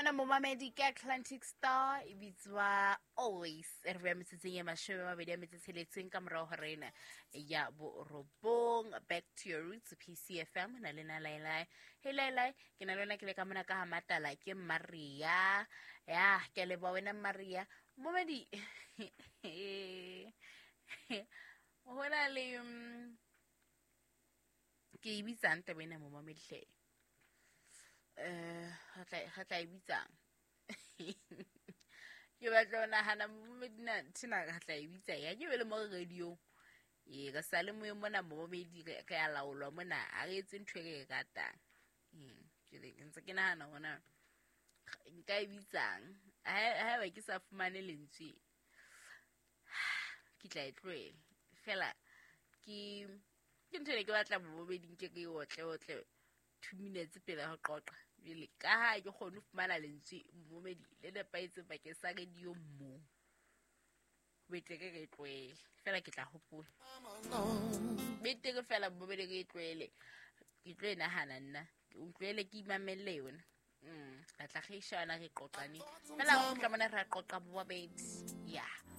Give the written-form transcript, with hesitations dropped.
Mona momamedi ke Atlantic Star e bitswa Always. E re beha metsotsong e 26 ka morao ho rena ya 9. Back to your roots, PCFM na le na Lailai. Hey Lailai, ke na le wena ke le ka mona ka ha Matala ke Maria. Ya, ke a leboha wena Maria. Momamedi ho na le ke e bitsang taba ena momamedi hle. Re tla e bitsang. Ke batla ho nahana momamedi na nthena re tla e bitsa ya ke be le mo radio. Ee, re sa le moyeng mona momamedi re a laolwa mona, ha re etse ntho e re e ratang. Jwale ke ntse ke nahana hore na nka e bitsang. Haeba ke sa fumane lentswe, ke tla e tlohela. Fela ke ntho e ne ke batla momamedi nke ke e otle otle 2 minutes pele ho qoqa. Jwale ka ha ke kgone ho fumana lentswe momamedi le nepahetseng bakeng sa radio mo. Betere re e tlohele. Fela ke tla hopola. Betere fela momamedi re e tlohele. Ke tlo e nahana nna. O tlohele ke imamelle yona. Re tla re shebana re qoqane. Fela re kgutla mona re a qoqa momamedi. Yeah.